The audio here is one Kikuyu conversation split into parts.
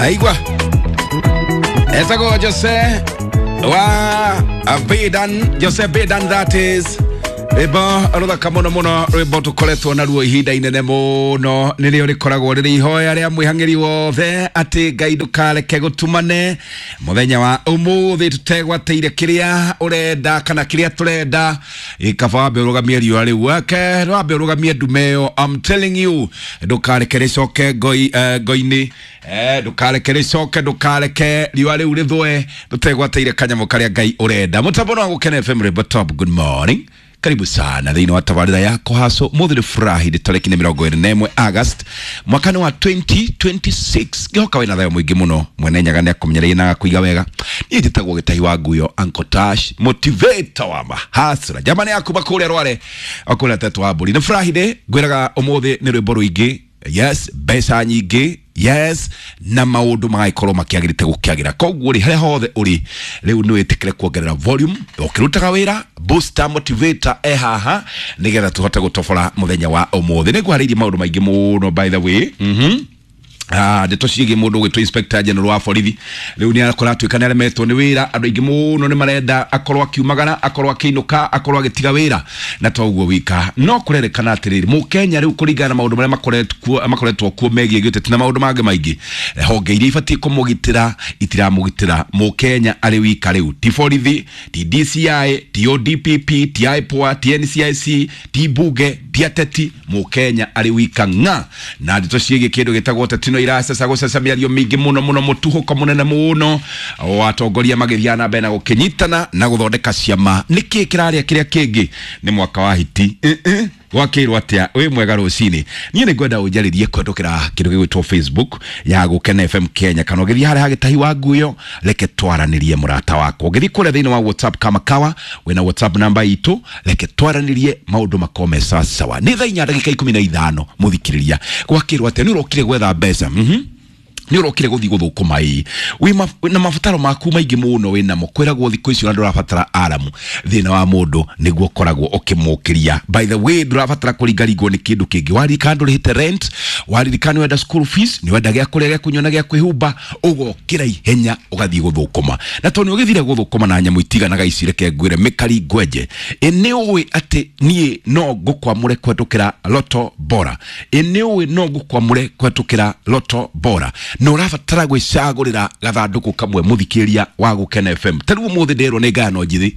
Aigua etagwo Jose wa Bedan, Jose Bedan, that is rwĩmbo rũthaka mũno mũno, rwĩmbo tũkoretwo naruo ihinda inene mũno. Nĩrĩo rĩkoragwo rĩrĩ ihoya rĩa mwĩhang'ĩri wothe atĩ Ngai ndũkareke gũtumane mũthenya wa ũmũthĩ tũtegwatĩire kĩrĩa ũrenda kana kĩrĩa tũrenda. Kaba wambe ũrũgamie riũa rĩu wake, wambe ũrũgamie ndume ĩyo. I'm telling you, ndũkareke rĩcoke ngoi-inĩ, ndũkareke rĩcoke, ndũkareke riũa rĩu rĩthũe tũtegwatĩire kanyamũ karĩa Ngai ũrenda. Mũtambo no Gũkena FM, rwĩmbo top. Good morning, karibu sana thĩinĩ wa tabarĩra ya kũhacwo. Mũthĩ nĩ Friday, tarĩki nĩ 21 August, mwaka nĩ wa 2026. Ngĩhoka wĩna thayũ mũingĩ mũno. Mwene Nyaga nĩ akũmenyereire na agakũiga wega. Niĩ njĩtagwo Gĩtahi wa Nguyo, Uncle Tash, motivator wa mahasra, jamani yaku makũrĩa rware okũrĩa tetũ wa mbũri. Nĩ Friday, ngwĩraga ũmũthĩ nĩ rwĩmbo rũingĩ, yes, mbeca nyingĩ, yes, na maũndũ magagĩkorwo makĩagĩrĩte gũkĩagĩra. Koguo rĩ, harĩa hothe ũrĩ rĩu, nĩ wĩtĩkĩre kuongerera volume ũkĩrutaga wĩra. Booster motivator e haha nĩgetha tũhote gũtobora mũthenya wa ũmũthĩ. Nĩ ngũharĩirie maũndũ maingĩ mũno, by the way. Ndeto ciĩgiĩ mũndũ ũgwĩtwo Inspector General wa borithi rĩu nĩ akorwo atuĩka nĩ aremetwo nĩ wĩra. Andũ aingĩ mũno nĩ marenda akorwo akiumagara, akorwo akĩinũka, akorwo agĩtiga wĩra. Na to ũguo wika, no kũrerĩkana atĩrĩrĩ, mũkenya rĩu, kũringana na maũndũ marĩa makoretwo kuo megiĩ gĩũteti na maũndũ mangĩ maingĩ, honge iria ibatiĩ kũmũgitĩra itiramũgitĩra. Mũkenya arĩ wika rĩu, ti borithi, ti DCI, ti ODPP, ti IPOA, ti NCIC, ti bunge, ti ateti, mũkenya arĩ wika ng'a. Na ndeto ciĩgiĩ kĩndũ gĩtagwo ũteti no iraceca gũceca, mĩario mĩingĩ mũno mũno, mũtuhũko mũnene mũno wa atongoria magĩthiaga na mbere na gũkĩnyitana na gũthondeka ciama. Nĩkĩ kĩrarĩa kĩrĩa kĩngĩ nĩ mwaka wa hiti? Gwakĩirwo atĩa? Wĩ mwega rũcinĩ. Niĩ nĩ ngwenda ũnjarĩrie kũhetũkĩra kĩndũ gĩgwĩtwo Facebook ya Gũkena FM Kenya, kana ũgĩthiĩ harĩa hagĩtahi wa nguyo, reke twaranĩrie, mũrata wakwa. Ũgĩthiĩ kũrĩa thĩinĩ wa WhatsApp, kama kawa wĩna WhatsApp namba itũ, reke twaranĩrie, maũndũ makorwo me sawa sawa. Nĩ thaa 4:15. Mũthikĩrĩria, gwakĩrwo atĩa? Nĩ ũrokire gwetha mbeca? Nĩ ũrokire gũthiĩ gũthũkũma? Ĩ wĩ na mabataro maku maingĩ mũno wĩ namo. Kwĩragwo thikũ icio na ndũrabatara aramu, thĩna wa mũndũ nĩguo ũkoragwo ũkĩmũkĩria. By the way, ndũrabatara kũringaringwo nĩ kĩndũ kĩngĩ. Waririkana ndũrĩhĩte rent, waririkana nĩ wenda school fees, nĩ wenda gĩa kũrĩa, gĩa kũnyua na gĩa kwĩhumba, ũgokĩra ihenya ũgathiĩ gũthũkũma. Na tondũ nĩ ũgĩthire gũthũkũma na nyamũ itiganaga ici, reke ngwĩre mĩkari ngwenje. Ĩ nĩ ũĩ atĩ niĩ no ngũkwamũre kũhetũkĩra Loto Bora? Ĩ nĩ ũĩ no ngũkwamũre kũhetũkĩra Loto Bora? Na ũrabatara gwĩcagũrĩra gathandũkũ kamwe, mũthikĩria wa Gũkena FM. Ta rĩu ũmũthĩ ndĩrerwo nĩ ngayano njĩthĩ,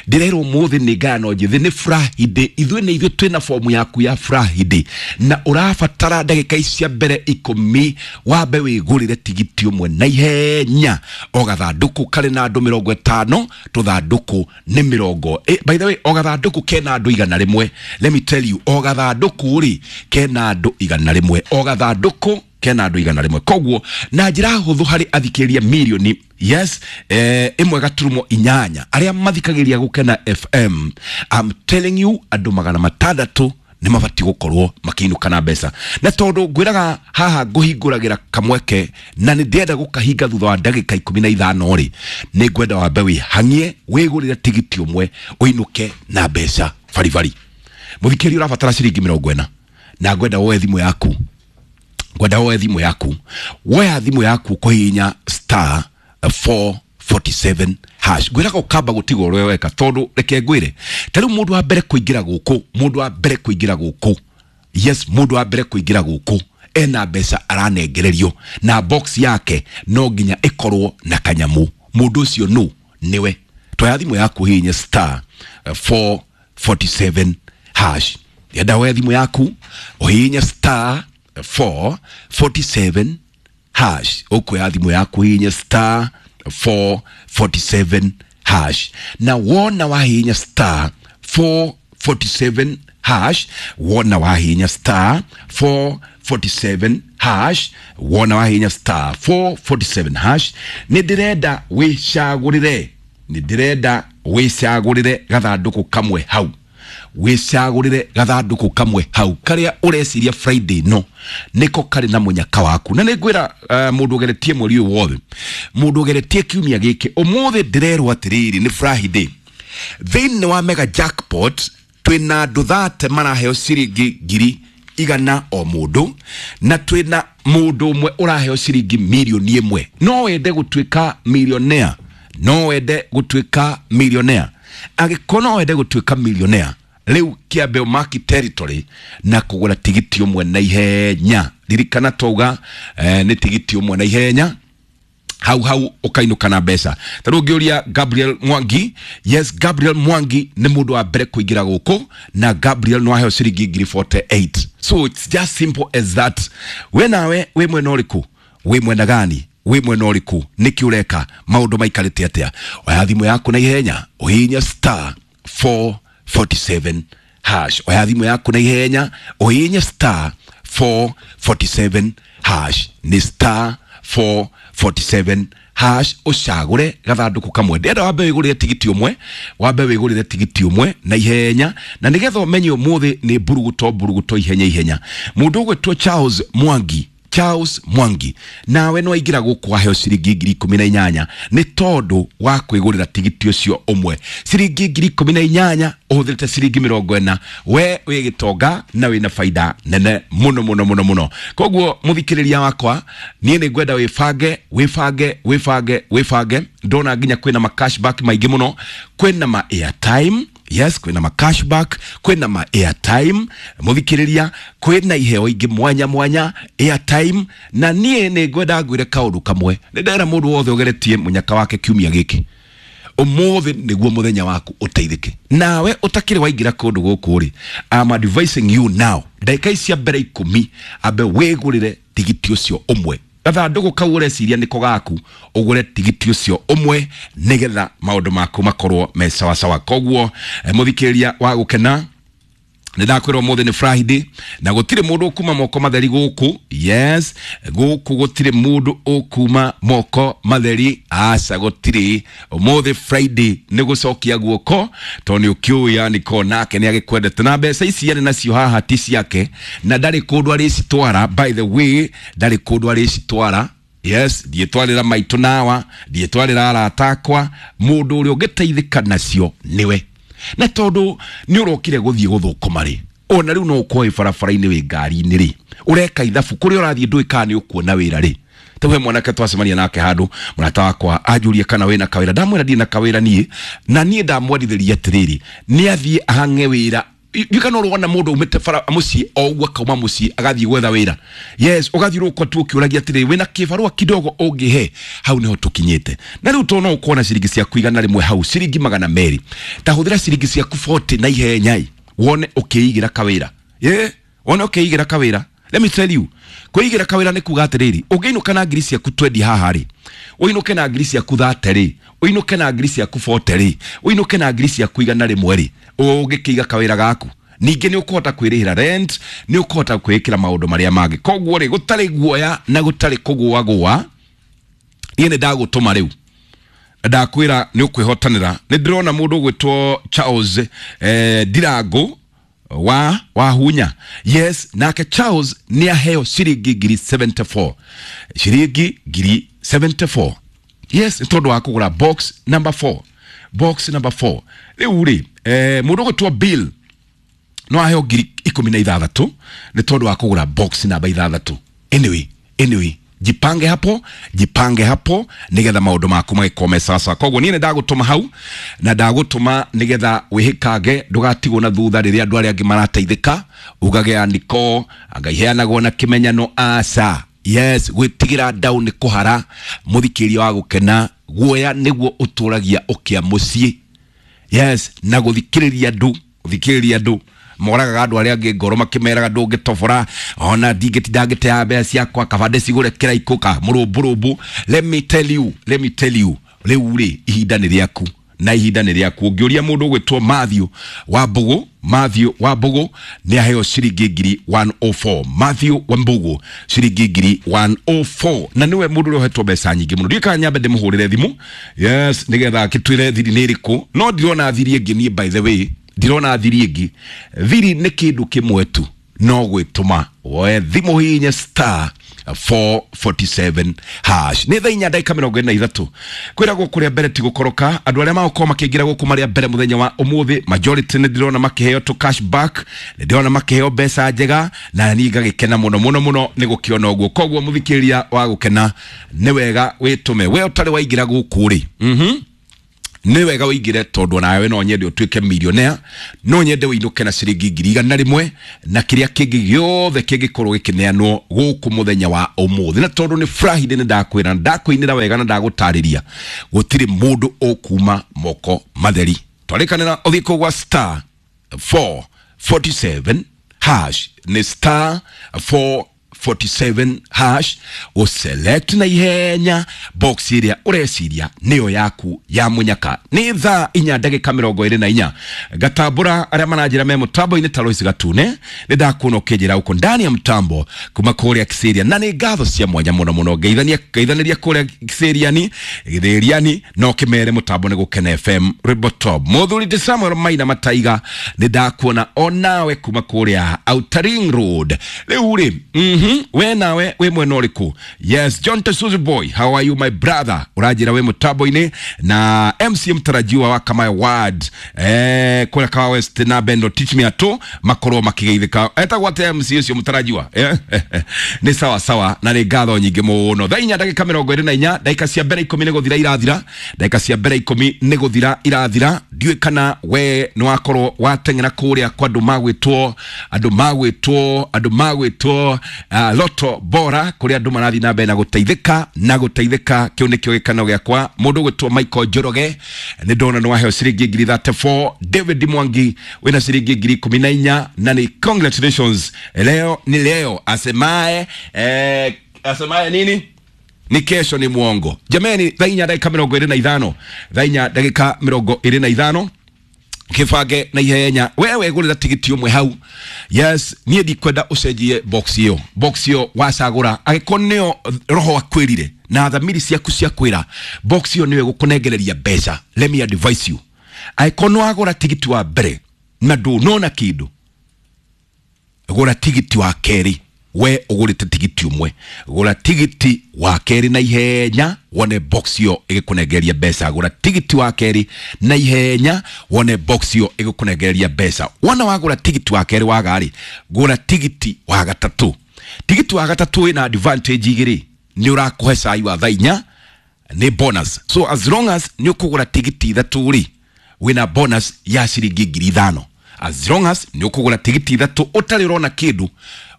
ndĩrerwo ũmũthĩ nĩ ngayano njĩthĩ, nĩ Friday. Ithuĩ nĩ ithuĩ twĩna fomu yaku ya Friday, na ũrabatara ndagĩka ici cia mbere 10 wambe wĩgũrĩre tigiti ũmwe na ihenya. O gathandũkũ karĩ na andũ 50, tũthandũkũ nĩ mĩrongo. By the way, o gathandũkũ kena andũ 100. Let me tell you, o gathandũkũ rĩ kena andũ 100, o gathandũkũ kena andũ 100. Koguo na njĩra hũthũ, harĩ athikĩrĩria mirioni, yes, 1.8 arĩa mathikagĩrĩria Gũkena FM, I'm telling you, andũ 600 nĩ mabatiĩ gũkorwo makĩinũka na mbeca. Na tondũ ngwĩraga haha ngũhingũragĩra kamweke na nĩ ndĩrenda gũkahinga thutha wa ndagĩka 15 rĩ, nĩ ngwenda wambe wĩhang'ie wĩgũrĩre tigiti ũmwe ũinũke na mbeca baribari. Mũthikĩrĩria, ũrabatara ciringi 40, na ngwenda woe thimũ yaku, ngwenda woe thimũ yaku. Woya thimũ yaku kũhihinya star 447 hash. Ngwĩraga ũkamba gũtigwo ũrĩa weka, tondũ reke ngwĩre, ta rĩu mũndũ wa mbere kũingĩra gũkũ, mũndũ wa mbere kũingĩra gũkũ, yes, mũndũ wa mbere kũingĩra gũkũ ena mbeca aranengererio, na box yake no nginya ĩkorwo na kanyamũ. Mũndũ ũcio nũ nĩwe. Toya thimũ yaku, hihinye star 447 hash. Enda woe thimũ yaku ũhihinye star 447 hash. Ũkuoya thimũ yaku, hihinye star 447 hash, na wona wahihinya star 447 hash, wona wahihinya star 447 hash, wona wahihinya star 447 hash, nĩ ndĩrenda wĩcagũrĩre, nĩ ndĩrenda wĩcagũrĩre gathandũkũ kamwe hau, wĩcagũrĩre gathandũkũ kamwe hau karĩa ũreciria Friday no nĩko karĩ na mũnyaka waku. Na nĩ ngwĩra mũndũ ũgeretie mweri ũyũ wothe, mũndũ ũgeretie kiumia gĩkĩ, ũmũthĩ ndĩrerwo atĩrĩrĩ, nĩ Friday, thĩinĩ wa mega jackpot twĩna andũ 30 maraheo ciringi 100,000 o mũndũ, na twĩna Mundu umwe uraheo ciringi milioni ĩmwe. No wende gutuika millionaire? No wende gutuika millionaire? Angĩkorwo no wende gutuika millionaire, rĩu kĩambe ũmaki territory na kũgũra tigiti ũmwe na ihenya. Ririkana twauga nĩ tigiti ũmwe na ihenya, hau hau ukainuka na mbeca. Ta rĩu ngĩũria Gabriel Mwangi, yes, Gabriel Mwangi nĩ mũndũ wa mbere kũingĩra gũkũ, na Gabriel no aheo ciringi ngiri 48. So it's just simple as that. We nawe wĩ mwena ũrĩkũ? Wĩ mwena gani? Wĩ mwena ũrĩkũ? Nĩkĩ ũreka? Maũndũ maikarĩte atĩa? Oya thimũ yaku na ihenya, ũhihinye star 447 hash. Oya thimũ yaku na ihenya, ũhihinye star 447 hash. Nĩ star 447 hash, ucagure gathanduku kamwe. Ndĩrenda wambe wĩgũrĩre tigiti ũmwe, wambe wĩgũrĩre tigiti ũmwe na ihenya, na nĩgetha ũmenye ũmũthĩ nĩ mburuguto mburuguto, ihenya ihenya. Mũndũ ũgwĩtwo Charles Mwangi, Charles Mwangi, nawe no aingĩra gũkũ waheo ciringi ngiri ikũmi na inyanya nĩ tondũ wa kwĩgũrĩra tigiti ũcio ũmwe. Ciringi ngiri ikũmi na inyanya ũhũthĩrĩte ciringi mĩrongo ĩna, we wĩ gĩtonga na wĩna baida nene mũno mũno mũno mũno. Koguo mũthikĩrĩria wakwa, niĩ nĩ ngwenda wĩbange, wĩbange, wĩbange, wĩbange. Ndona nginya kwĩna ma cashback maingĩ mũno, kwĩna ma airtime. Yes, kwĩna ma cashback, kwĩna ma airtime, mũthikĩrĩria, kwĩna iheo ingĩ mwanya mwanya, airtime. Na niĩ nĩ ngwenda ngwĩre kaũndũ kamwe. Nĩ ndera mũndũ wothe ũgeretie mũnyaka wake kiumia gĩkĩ, ũmũthĩ nĩguo mũthenya waku ũteithĩke. Nawe ũtakĩrĩ waingĩra kũndũ gũkũ rĩ, I'm advising you now, ndagĩka ici cia mbere ikũmi, ambe wĩgũrĩre tigiti ũcio ũmwe. Gathandũkũ kau ũreciria nĩko gaku, ũgũre tigiti ũcio ũmwe nĩgetha maũndũ maku makorwo me sawasawa. Koguo mũthikĩrĩria wa gũkena, nĩ ndakwĩrwo ũmũthĩ nĩ Friday na gũtirĩ mũndũ ũkuma moko matheri gũkũ. Yes, gũkũ gũtirĩ mũndũ ũkuma moko matheri, aca, gũtirĩ. Ũmũthĩ Friday nĩ gũcokia guoko, tondũ nĩ ũkĩũĩ yaniko nake nĩ agĩkwendete, na mbeca ici arĩ nacio haha ti ciake na ndarĩ kũndũ arĩcitwara. By the way, ndarĩ kũndũ arĩcitwara. Yes, ndiĩtwarĩra maitũ nawa, ndiĩtwarĩra arata akwa. Mũndũ ũrĩa ũngĩteithĩka nacio nĩwe, na tondũ nĩ ũrokire gũthiĩ gũthũkũma rĩ, ona rĩu no ũkorwo wĩ barabara-inĩ, wĩ ngari-inĩ rĩ, ũreka ithabu kũrĩa ũrathiĩ, ndũĩ kana nĩ ũkuona wĩra rĩ. Tau he mwanake twacemania nake handũ, mũrata wakwa, anjũrie kana wĩna kawĩra. Ndamwĩra ndirĩ na kawĩra niĩ, na niĩ ndamwendithĩria atĩrĩrĩ, nĩ athiĩ ahang'e wĩra. Ndiũĩ kana ũrona mũndũ umĩte bara mũciĩ o ũguo, akauma mũciĩ agathiĩ gwetha wĩra. Yes, ũgathiũrũrũka tu ũkĩũragia atĩrĩrĩ, wĩna kĩbarũa kidogo ũngĩhe? Hau nĩho tũkinyĩte. Na rĩu tondũ no ũkorwo na ciringi ciaku 100 hau, ciringi 200, ta hũthĩra ciringi ciaku 40 na ihenya wone ũkĩigĩra kawĩra. Yeah, wone ũkĩigĩra kawĩra. Let me tell you, kwĩigĩra kawĩra nĩ kuga atĩrĩrĩ, ũngĩinũka na ngiri ciaku 20 haha rĩ, ũinũke na ngiri ciaku 30 rĩ, ũinũke na ngiri ciaku 40 rĩ, ũinũke na ngiri ciaku 100 rĩ, ũngĩkĩiga kawĩra gaku, ningĩ nĩ ũkũhota kwĩrĩhĩra rent, nĩ ũkũhota kwĩĩkĩra maũndũ marĩa mangĩ. Koguo rĩ, gũtarĩ guoya na gũtarĩ kũgũagũa, niĩ nĩ ndagũtũma rĩu, ndakwĩra nĩ ũkwĩhotanĩra. Nĩ ndĩrona mũndũ ũgwĩtwo Charles Ndirango wa Wahunya. Yes, nake Charles nĩ aheo ciringi ngiri 74, ciringi ngiri 74. Yes, nĩ tondũ wa kũgũra box number 4, box number 4. Rĩu rĩ, mũndũ ũgwĩtwo Bill no aheo ngiri ikũmi na ithathatũ nĩ tondũ wa kũgũra box namba ithathatũ. Anyway, anyway, jipange hapo, jipange hapo nigetha maũndũ maku magĩkorwo me sawasawa. Koguo niĩ nĩ ndagũtũma hau, na ndagũtũma nigetha wĩhĩkange, ndũgatigwo na thutha rĩrĩa andũ arĩa angĩ marateithĩka, ugage aniko anga iheanagwo na kĩmenyano. Aca. Yes, gwĩtigĩra ndau nĩ kũhara. Mũthikĩria wa gũkena, guoya nĩguo ũtũragia ũkĩa mũciĩ. Yes, na gũthikĩrĩria andũ, gũthikĩrĩria andũ moragaga andũ arĩa angĩ ngoro makĩmeraga ndũngĩtobora, ona ndingĩtinda ngĩtea mbeca ciakwa, kaba ndĩcigũre kĩraikũ ka mũrũmbũrũmbũ. Let me tell you, let me tell you, rĩu rĩ, ihinda nĩ rĩaku, na ihinda nĩ rĩaku. Ũngĩũria mũndũ ũgwĩtwo Matthew wa Mbũgũ, Matthew wa Mbũgũ nĩ aheo ciringi ngiri 104. Matthew wa Mbũgũ, ciringi ngiri 104, na nĩwe mũndũ ũrĩa ũhetwo mbeca nyingĩ mũno. Ndiũĩ kana nyambe ndĩmũhũrĩre thimũ, yes, nĩgetha akĩtwĩre thiri nĩ ĩrĩkũ, no ndirona thiri ĩngĩ niĩ. By the way, ndirona thiri ĩngĩ. Thiri nĩ kĩndũ kĩmwe tu, no gwĩtũma woe thimũ, hihinye star 447 hash. Nĩ thaa 4 ndagĩka 43. Kwĩragwo kũrĩa mbere ti gũkoroka. Andũ arĩa magũkorwo makĩingĩra gũkũ marĩa mbere mũthenya wa ũmũthĩ, majority nĩ ndĩrona makĩheo tũ cash back, nĩ ndĩrona makĩheo mbeca njega, na niĩ ngagĩkena mũno mũno mũno nĩ gũkĩona ũguo. Koguo mũthikĩrĩria wa gũkena, nĩ wega wĩtũme. We ũtarĩ waingĩra gũkũ rĩ, nĩ wega wĩingĩre, tondũ nawe no nyende ũtuĩke millionaire, no nyende wĩinũke na ciringi 100,000 na kĩrĩa kĩngĩ gĩothe kĩngĩkorwo gĩkĩneanwo gũkũ mũthenya wa ũmũthĩ. Na tondũ nĩ Friday, nĩ ndakwĩra na ndakũinĩra wega na ndagũtarĩria, gũtirĩ mũndũ ũkuma moko matheri. Twarĩkanĩra ũthiĩ kũu gwa star 447 hash, nĩ star 447 hash, ũselect na ihenya box ĩrĩa ũreciria nĩyo yaku ya mũnyaka. Nĩ thaa 4 ndagĩka 24. Ngatambũra arĩa maranjĩra me mũtambo-inĩ ta Lois Gatune, nĩ ndakuona ũkĩnjĩra ũko ndani ya mtambo kuma kũrĩa Kiserian, na nĩ ngatho cia mwanya mũno mũno. Ngeithanĩria kũrĩa Kiseriani Gĩthĩriani, no kĩmere mũtambo nĩ Gũkena FM rwĩmbo top. Mũthuri ti Samuel Maina Mataiga, nĩ ndakuona onawe kuma kũrĩa Outer Ring Road. Rĩu rĩ, we nawe wĩ mwena ũrĩkũ? Yes, John Tesuzi boy, how are you, my brother? Ũranjĩra wĩ mũtambo-inĩ na MC mtarajiwa wa Kamae Ward, kũrĩa Kawa West na Bendo Teach Me Ato makorwo makĩgeithĩka. Etagwo atĩa MC ũcio mũtarajiwa? Nĩ sawa sawa, na nĩ ngatho nyingĩ mũno. Thaa 4 ndagĩka 24, ndagĩka cia mbere 10 nĩ gũthira irathira, ndagĩka cia mbere 10 nĩ gũthira irathira. Ndiũĩ kana we nĩ wakorwo wateng'era kũrĩa kwa andũ magwĩtwo, andũ magwĩtwo, andũ magwĩtwo Loto Bora, kũrĩa andũ marathiĩ na mbere na gũteithĩka na gũteithĩka. Kĩu nĩkĩo gĩkeno gĩakwa. Mũndũ ũgwĩtwo Michael Njoroge, nĩ ndona nĩ waheo ciringi 34,000. David Mwangi wĩna ciringi 14,000, na nĩ congratulations. Leo ni leo, asemae asemae nini ni kesho ni mwongo. Jameni, thaa 4 ndagĩka 25, thaa 4 ndagĩka 25, kĩbange na ihenya. Wewe gũrĩra tigiti ũmwe hau. Yes, niĩ ndikwenda ũcenjie box ĩyo. Box ĩyo wacagũra, angĩkorwo nĩyo roho akwĩrire na thamiri ciaku cia kwĩra, box ĩyo nĩyo ĩgũkũnengereria mbeca. Let me advise you, angĩkorwo nĩ wagũra tigiti wa mbere na ndũnona kĩndũ, gũra tigiti wa kerĩ. We ũgũrĩte tigiti ũmwe, gũra tigiti wa kerĩ na ihenya wone box ĩyo ĩgĩkũnengereria mbeca. Gũra tigiti wa kerĩ na ihenya wone box ĩyo ĩgĩkũnengereria mbeca. Wona wagũra tigiti wa kerĩ waga-rĩ, gũra tigiti wa gatatũ. Tigiti wa gatatũ wĩna advantage igĩrĩ: nĩ ũrakũhe cai wa thaa 4, nĩ bonus. So as long as nĩ ũkũgũra tigiti ithatũ rĩ, wĩna bonus ya ciringi 5,000. As long as nĩ ũkũgũra tigiti ithatũ ũtarĩ ũrona kĩndũ,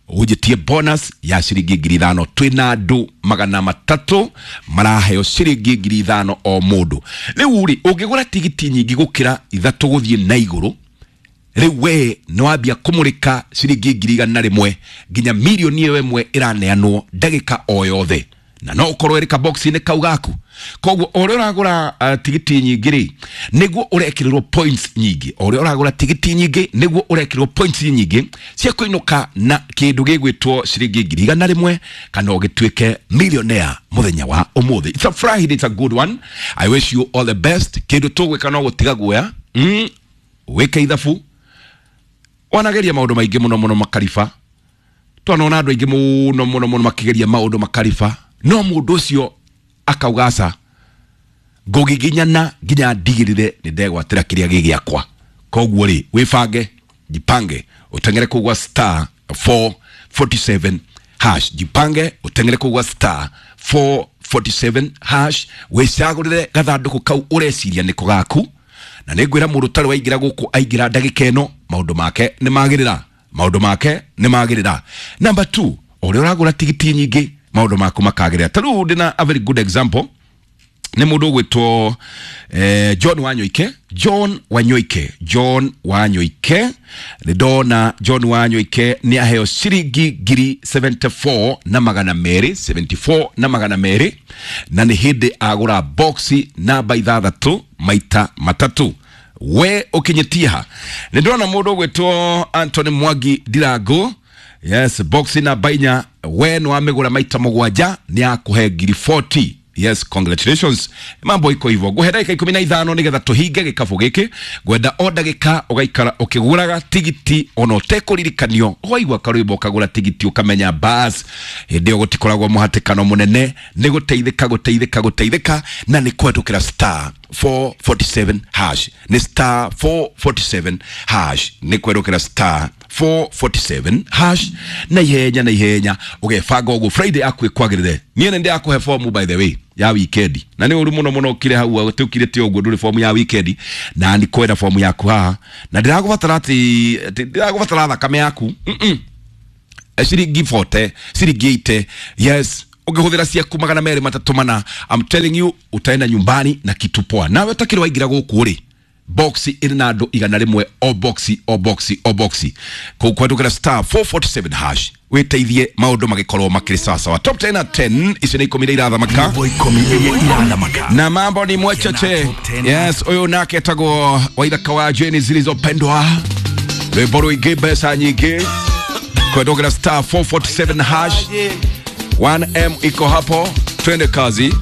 ũnjĩtie bonus ya ciringi 5,000. Twĩna andũ 300 maraheo ciringi 5,000 o mũndũ. Rĩu rĩ, ũngĩgũra tigiti nyingĩ gũkĩra ithatũ gũthiĩ na igũrũ, rĩu we nĩ wambia kũmũrĩka ciringi 100,000 nginya mirioni ĩyo ĩmwe ĩraneanwo ndagĩka o yothe, na no ũkorwo ĩrĩ kabox-inĩ kau gaku. Koguo o ũrĩa ũragũra tigiti nyingĩ rĩ, nĩguo ũrekĩrĩrwo points nyingĩ. O ũrĩa ũragũra tigiti nyingĩ, nĩguo ũrekĩrĩrwo points nyingĩ cia kũinũka na kĩndũ gĩgwĩtwo ciringi 100,000 kana ũgĩtuĩke millionaire mũthenya wa ũmũthĩ. It's a Friday, it's a good one. I wish you all the best. Kĩndũ tũgwĩka no gũtiga guoya, wĩke ithabu. Wanageria maũndũ maingĩ mũno mũno makariba, twanona andũ aingĩ mũno mũno mũno makĩgeria maũndũ makariba, no mũndũ ũcio akauga aca, ngũgiginyana nginya ndigĩrĩre nĩ ndegwatĩra kĩrĩa gĩ gĩakwa. Koguo rĩ, wĩbange, jipange, ũteng'ere kũu gwa star 447 hash. Jipange, ũteng'ere kũu gwa star 447 hash, wĩcagũrĩre gathandũkũ kau ũreciria nĩko gaku. Na nĩ ngwĩra mũndũ ũtarĩ waingĩra gũkũ, aingĩra ndagĩka ĩno, maũndũ make nĩ magĩrĩra, maũndũ make nĩ magĩrĩra. Number 2, ũrĩa ũragũra tigiti nyingĩ, maũndũ maku makagĩrĩra. Ta rĩu ndĩna a very good example, nĩ mũndũ ũgwĩtwo John Wanyoike. John Wanyoike, John Wanyoike, nĩ ndona John Wanyoike nĩ aheo ciringi 74,200, 74,200, na nĩ hĩndĩ agũra boxi namba ithathatũ maita matatũ. We ũkinyĩtie ha? Nĩ ndona mũndũ ũgwĩtwo Anthony Mwangi Ndirango. Yes, boxi namba 4, we nĩ wamĩgũra maita mũgwanja, nĩ akũhe 40,000. Yes, congratulations. Mambo iko hivyo. Nguhe ndagĩka 15 nĩgetha tũhinge gĩkabũ gĩkĩ. Ngwenda o ndagĩka ũgaikara ũkĩgũraga tigiti ona ũtekũririkanio. Waigua karwĩmbo ũkagũra tigiti ũkamenya bas. Hĩndĩ ĩyo gũtikoragwo mũhatĩkano mũnene, nĩ gũteithĩka gũteithĩka gũteithĩka na nĩ kũhetũkĩra star 447 hash. Nĩ star 447 hash. Nĩ kũhetũkĩra star 447 hash na ihenya na ihenya ũgebanga ũguo Friday yaku ĩkwagĩrĩre. Niĩ nĩ ndĩrakũhe fomu by the way ya weekend, na nĩ ũru mũno mũno ũkire hau ũtũkire ti ũguo ndũrĩ fomu ya weekend, na nĩ kwenda fomu yaku haha na ndĩragũbatara atĩ ndĩragũbatara thakame yaku ciringi 40 ciringi 80. Yes, ũngĩhũthĩra ciaku 234, I'm telling you utaenda nyumbani na kitu poa. Nawe ũtakĩrĩ waingĩra gũkũ rĩ, box ĩrĩ na andũ 100, o box o box o box kũu kwandũkĩra star 447 hash wĩteithie maũndũ magĩkorwo makĩrĩ sawasawa. Top 10 at 10, icio nĩ 10 iria irathamaka Nyimbo 10 iria irathamaka na mambo ni mwecheche. Yes, ũyũ nake etagwo Waithaka wa Jeni zilizopendwa, rwĩmbo rũingĩ mbeca nyingĩ, kwendogera star 447 hash 1M iko hapo, twende kazi.